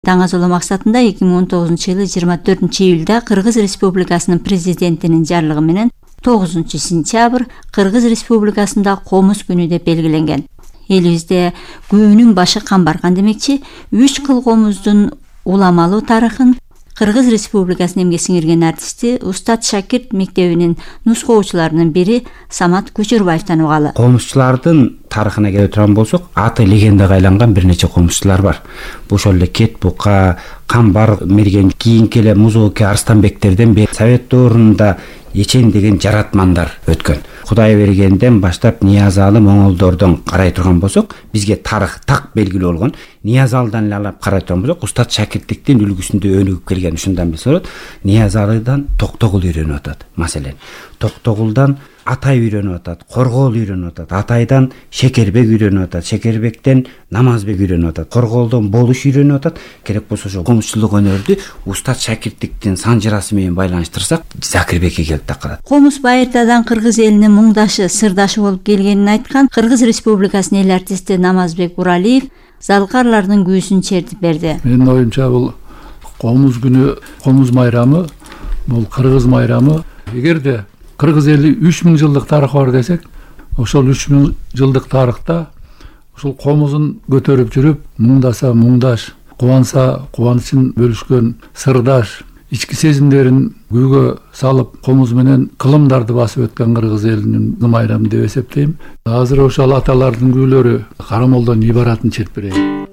Даңазолоо максатында 2019-жылы 24-июлда Кыргыз Республикасынын президентинин жарлыгы менен 9-сентябрь Кыргыз Республикасында комуз күнү деп белгиленген. Элибизде көөнүн башы камбарган демекчи, 3 кыл комуздун уламалуу тарыхын Кыргыз Республикасынын эмгек сиңирген артисти Устат Шакирт мектебинин нускоочуларынын бири Самат Көчөрбаевден угалы. Комузчулардын тарыхына келе турган болсок, аты легендага айланган бир нече комузчулар бар. Ошол эле Кет Бука, Камбар мерген, кийинки эле Музооке Арстанбектерден бери Совет доорунда Ечен деген жаратмандар өткөн. Кудайбергенден баштап Ниязалы моңолдордон карай турган болсок, бизге тарых так белгилүү болгон. Ниязалыдан эле алып карай турган болсок, Устат Шакирттиктин үлгүсүндө өнүгүп келген. Ушундан билсе болот. Ниязалыдан Токтогул үйрөнүп атат. Маселен, Токтогулдан Атай үйрөнүп атат, Коргоол үйрөнүп атат, Атайдан Шекербек үйрөнүп атат, Шекербектен Намазбек үйрөнүп атат, Коргоолдон Болуш үйрөнүп атат. Керек болсо ошо комузчулук өнөрдү Устат Шакирттиктин санжырасы менен байланыштырсак, Закирбекке келип такалат. Комуз байыртадан кыргыз элинин муңдашы, сырдашы болуп келгенин айткан Кыргыз Республикасынын эл артисти Намазбек Уралиев залкарлардын күүсүн чертип берди. Менин оюмча бул комуз күнү, комуз майрамы, бул кыргыз майрамы. Эгерде кыргыз эли 3000 жылдык тарыхы бар десек, ошол 3000 жылдык тарыхта ушул комузун көтөрүп жүрүп, муңдаса муңдаш, кубанса кубанычын бөлүшкөн сырдаш, ички сезимдерин күүгө салып, комуз менен кылымдарды басып өткөн кыргыз элинин майрамы деп эсептейм. Азыр ошол аталардын күүлөрү Карамолдон ибаратын чертип берейин.